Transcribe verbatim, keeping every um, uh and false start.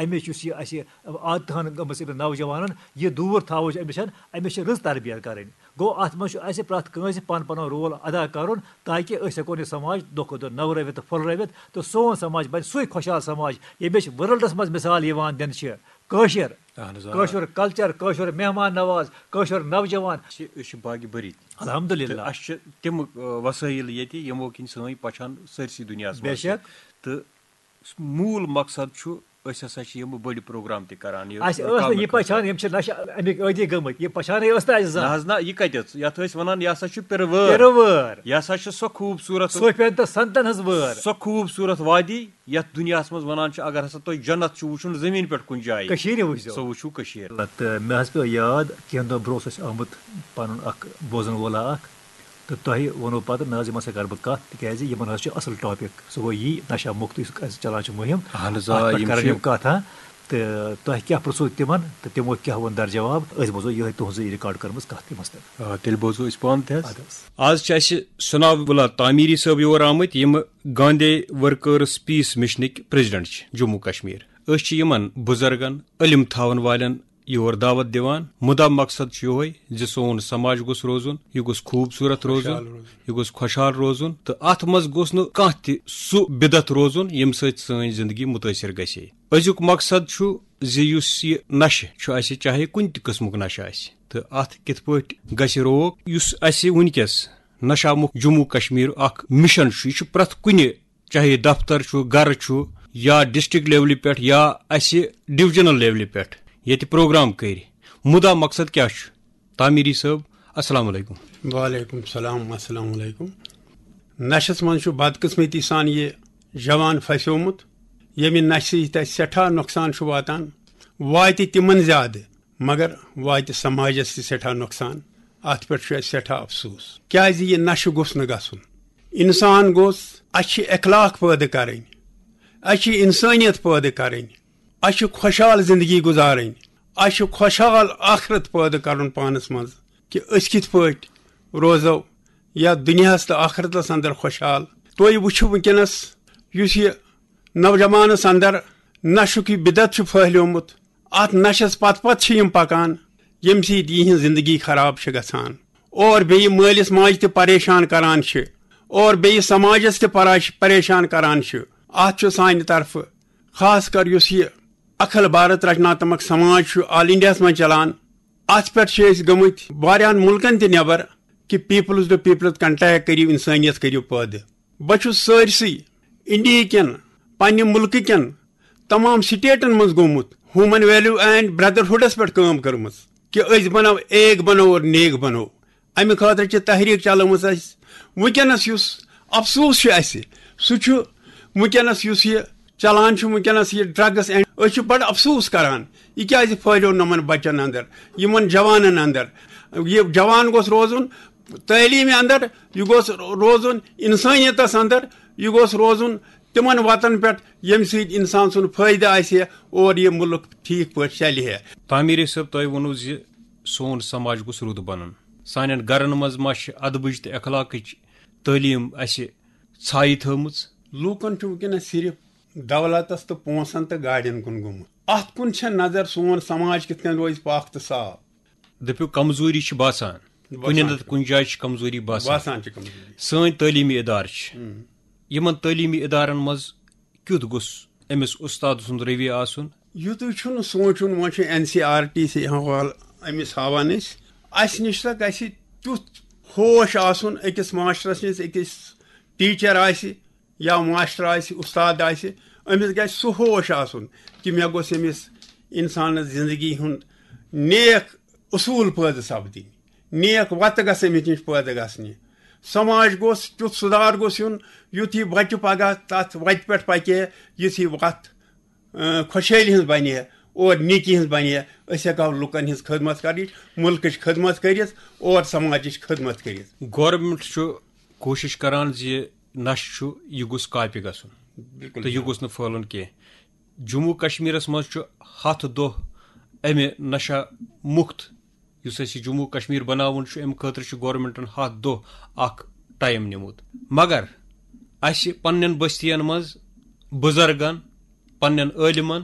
أمِس یُس یہِ اَسہِ عادتہٕ ہن گٔمٕژ أمِس نوجوانن، یہِ دوٗر تھاوٕچ أمِس چھَنہٕ، أمِس چھِ رٕژ تربیت کَرٕنۍ۔ گوٚو، اَتھ منٛز چھُ اَسہِ پرٛٮ۪تھ کٲنٛسہِ پَنُن پَنُن رول ادا کَرُن، تاکہِ أسۍ ہٮ۪کون یہِ سماج دۄہ کھۄتہٕ دۄہ نٔوراوِتھ تہٕ پھۄلرٲوِتھ، تہٕ سون سماج بَنہِ سُے خۄشحال سماج، ییٚمِچ ورلڈَس منٛز مثال یِوان دِنہٕ چھِ۔ کٲشِر، اہن حظ، آ۔ کٲشُر کلچر، کٲشُر مہمان نواز، کٲشُر نوجوان۔ چھِ، أسۍ چھِ باغِ بٔرِتھ۔ الحمدللہ۔ تہٕ اَسہِ چھِ تِم، آ، وسٲیِل ییٚتہِ، یِمو کِنۍ سٲنۍ پہچان سٲرسٕے دُنیاہَس بے منٛز چھِ۔ شک۔ تہٕ موٗل مقصد چھُ، أسۍ ہسا چھِ یِم بٔڑۍ پروگرام تہِ کران۔ یہِ اَسہِ ٲس نہٕ رُکاونہٕ یہِ پہچان، خٲطرٕ۔ یِم چھِ نشہٕ اَمِکۍ عٲدی گٔمٕتۍ۔ یہِ پہچانٕے ٲس نہٕ اَسہِ زانٛہہ۔ نہ حظ، نہ، یہِ کَتہِ ٲس؟ یَتھ ٲسۍ وَنان، یہِ ہسا چھُ پِرٕ وٲر۔ پِرٕ وٲر۔ یہِ ہسا چھُ سۄ خوٗبصوٗرت، صوفین تہٕ سنتن ہٕنٛز وٲر۔ سۄ خوٗبصوٗرت وادی، یَتھ دُنیاہَس منٛز وَنان چھِ، اگر ہسا تۄہہِ جنت چھُ وٕچھُن زٔمیٖن پٮ۪ٹھ کُنہِ جایہِ، کٔشیٖرِ وٕچھزیو۔ سۄ وٕچھِو کٔشیٖر۔ تہٕ مےٚ حظ پیوٚو یاد، کینٛہہ دۄہ برونٛہہ اوس اَسہِ آمُت پَنُن اَکھ بوزَن وولا اَکھ، تہٕ تۄہہِ ووٚنوُ پَتہٕ، نہ حظ، یِمَن سۭتۍ کَرٕ بہٕ کَتھ، تِکیٛازِ یِمَن حظ چھُ اَصٕل ٹاپِک، سُہ گوٚو یی نشہ مُکت یُس اَسہِ چَلان چھُ مُہِم۔ اَہَن حظ، آ، اَتھ پٮ۪ٹھ یِم کَرَن چھِ یِم کَتھ، ہاں؟ تہٕ تۄہہِ کیٛاہ پرٛژھوُ تِمَن تہٕ تِمو کیٛاہ ووٚن در جواب؟ أسۍ بوزو یِہوٚے تُہٕنٛزٕے ریکارڈ کٔرمٕژ کَتھ تِمَن سۭتۍ۔ آ، تیٚلہِ بوزو أسۍ پانہٕ تہِ حظ۔ اَدٕ حظ۔ آز چھِ اَسہِ ثناء اللہ تعمیٖری صٲب یور آمٕتۍ، یِم گاندھی ورکٲرٕس پیس مِشنٕکۍ پریزیڈنٹ چھِ جموں کشمیر۔ أسۍ چھِ یِمَن بُزرگَن، علم تھاوَن والٮ۪ن یور دعوت دِوان۔ مُدا مقصد چھُ یِہوٚے زِ سون سماج گوٚژھ روزُن، یہِ گوٚژھ خوٗبصوٗرت روزُن، خۄشحال روزُن۔ یہِ گوٚژھ خۄشحال روزُن، تہٕ اَتھ منٛز گوٚژھ نہٕ کانٛہہ تہِ سُہ بِدعت روزُن، ییٚمہِ سۭتۍ سٲنۍ زندگی مُتٲثر گژھِ۔ أزیُک مقصد چھُ زِ یُس یہِ نشہٕ چھُ اَسہِ، چاہے کُنہِ تہِ قٕسمُک نشہٕ آسہِ، تہٕ اَتھ کِتھ پٲٹھۍ گژھِ روک، یُس اَسہِ وٕنکیٚس نشہ مُکت جموں کشمیر اکھ مِشن چھُ، یہِ چھُ پرٛٮ۪تھ کُنہِ، چاہے دفتر چھُ، گرٕ چھُ، یا ڈسٹرکٹ لیولہِ پٮ۪ٹھ، یا اَسہِ ڈویژنل لیولہِ پٮ۪ٹھ ییٚتہِ پروگرام کٔرۍ۔ مُدا مقصد کیٛاہ چھُ؟ تعمیٖری صٲب، السلام علیکم۔ وعلیکم السلام، السلام علیکم۔ نشس منٛز چھُ بدقسمتی سان یہِ جوان پھسیومُت، ییٚمہِ نشہِ سۭتۍ اَسہِ سٮ۪ٹھاہ نۄقصان چھُ واتان، واتہِ تِمن زیادٕ، مگر واتہِ سماجس تہِ سٮ۪ٹھاہ نۄقصان۔ اَتھ پٮ۪ٹھ چھُ اَسہِ سٮ۪ٹھاہ افسوٗس، کیٛازِ یہِ نشہٕ گوٚژھ نہٕ گژھُن۔ انسان گوٚژھ، اَسہِ چھِ اخلاق پٲدٕ کرٕنۍ، اَسہِ چھِ انسٲنیت پٲدٕ کرٕنۍ، اَسہِ چھِ خۄشحال زندگی گُزارٕنۍ، اَسہِ چھُ خۄشحال ٲخرت پٲدٕ کرُن پانس منٛز، کہِ أسۍ کِتھ پٲٹھۍ روزو یتھ دُنیاہس تہٕ ٲخرتس اندر خۄشحال۔ تُہۍ وٕچھِو وٕنکیٚنس یُس یہِ نوجوانس اندر نشُک یہِ بدعت چھُ پھٔہلیومُت، اتھ نشس پتہٕ پتہٕ چھِ یِم پکان، ییٚمہِ سۭتۍ یِہنٛز زندگی خراب چھِ گژھان اور بیٚیہِ مٲلِس ماجہِ تہِ پریشان کران چھِ اور بیٚیہِ سماجس تہِ پراش-، پریشان کران چھِ۔ اتھ چھُ سانہِ طرفہٕ خاص کر یُس یہِ اکھل بھارت رچناتمک سماج چھُ آل انڈیاہس منٛز چلان، اتھ پٮ۪ٹھ چھِ أسۍ گٔمٕتۍ واریاہن مُلکن تہِ نٮ۪بر کہِ پیپلز ٹو پیپلز کنٹیکٹ کٔرِو، انسٲنیت کٔرِو پٲدٕ۔ بہٕ چھُس سٲرسٕے انڈیا کٮ۪ن، پننہِ مُلکہٕ کٮ۪ن تمام سٹیٹن منٛز گوٚمُت، ہیومن ویلیو اینڈ بردرہُڈس پٮ۪ٹھ کٲم کٔرمٕژ کہِ أسۍ بنو ایک بنو اور نیک بنو۔ امہِ خٲطرٕ چھِ تحریک چلٲومٕژ اَسہِ۔ وٕنکیٚنس یُس افسوٗس چھُ اَسہِ، سُہ چھُ وٕنکیٚنس یُس یہِ چلان چھُ وٕنکیٚنس یہِ ڈرگس اینڈ، أسۍ چھِ بڑٕ افسوٗس کران، یہِ کیازِ پھٲلیو نہٕ یِمن بچن اندر، یِمن جوانن اندر۔ یہِ جوان گوٚژھ روزُن تعلیٖمہِ اندر، یہِ گوٚژھ روزُن انسٲنیتس اندر، یہِ گوٚژھ روزُن تِمن وتن پٮ۪ٹھ، ییٚمہِ سۭتۍ انسان سُنٛد فٲیدٕ آسہِ اور یہِ مُلک ٹھیٖک پٲٹھۍ چلہِ ہے۔ تعمیٖری صٲب، تۄہہِ ووٚنوُ زِ سون سماج گوٚژھ رُت بنُن۔ سانٮ۪ن گرن منٛز ما چھِ ادبٕچ تہٕ اخلاقٕچ تعلیٖم اَسہِ ژھایہِ تھٲومٕژ؟ لوٗکن چھُ وٕنکیٚنس صرف دولتس تہٕ پونٛسن تہٕ گاڑٮ۪ن کُن گوٚمُت۔ اتھ کُن چھےٚ نظر سون سماج کِتھ کٔنۍ روزِ پاک تہٕ صاف۔ دٔپِو، کمزوری چھِ باسان۔ باسان کُنہِ نتہٕ چھِ۔ کُنہِ جایہِ چھِ کمزوری باسان۔ باسان چھِ کمزوری۔ سٲنۍ تعلیٖمی ادارٕ چھِ۔ ہم۔ یِمن تعلیٖمی ادارن منٛز کیُتھ گوٚژھ أمِس اُستاد سُنٛد رویہ آسُن؟ یُتُے چھُنہٕ سونٛچُن، وۄنۍ چھُ N C R T C حوالہٕ أمِس ہاوان أسۍ۔ اَسہِ نِش سا گژھِ تیُتھ ہوش آسُن أکِس ماسٹرس نِش، أکِس ٹیٖچر آسہِ یا ماسٹر آسہِ، اُستاد آسہِ، أمِس گژھِ سُہ ہوش آسُن کہِ مےٚ گوٚژھ أمِس اِنسانَس زِندگی ہُنٛد نیک اصوٗل پٲدٕ سپدٕنۍ، نیک وَتہٕ گژھِ أمِس نِش پٲدٕ گژھنہِ۔ سماج گوٚژھ تیُتھ سُدھار گوٚژھ یُن، یُتھ یہِ بَچہٕ پگاہ تَتھ وَتہِ پٮ۪ٹھ پَکہِ ہے، یُتھ یہِ وَتھ، اۭں، خۄشحٲلی ہٕنٛز بَنہِ ہے اور نیکی ہٕنٛز بَنہِ ہے۔ أسۍ ہٮ۪کہٕ ہاو لُکَن ہٕنٛز خدمت کٔرِتھ، مُلکٕچ خدمت کٔرِتھ اور سماجٕچ خدمت کٔرِتھ۔ گورنمنٹ چھُ کوٗشِش کران زِ نشہٕ چھُ، یہِ گوٚژھ کاپہِ گژھُن بِلکُل تہٕ یہِ جِناب۔ گوٚژھ نہٕ پھٲلُن کینٛہہ۔ جموں کشمیرس منٛز چھُ ہتھ دۄہ امہِ نشہ مُکت، یُس اَسہِ جموں کشمیر بناوُن چھُ، امہِ خٲطرٕ چھُ گورنمنٹن ہتھ دۄہ اکھ ٹائم نیومُت۔ مگر اَسہِ پننٮ۪ن بستین منٛز بُزرگن، پننٮ۪ن عٲلمن،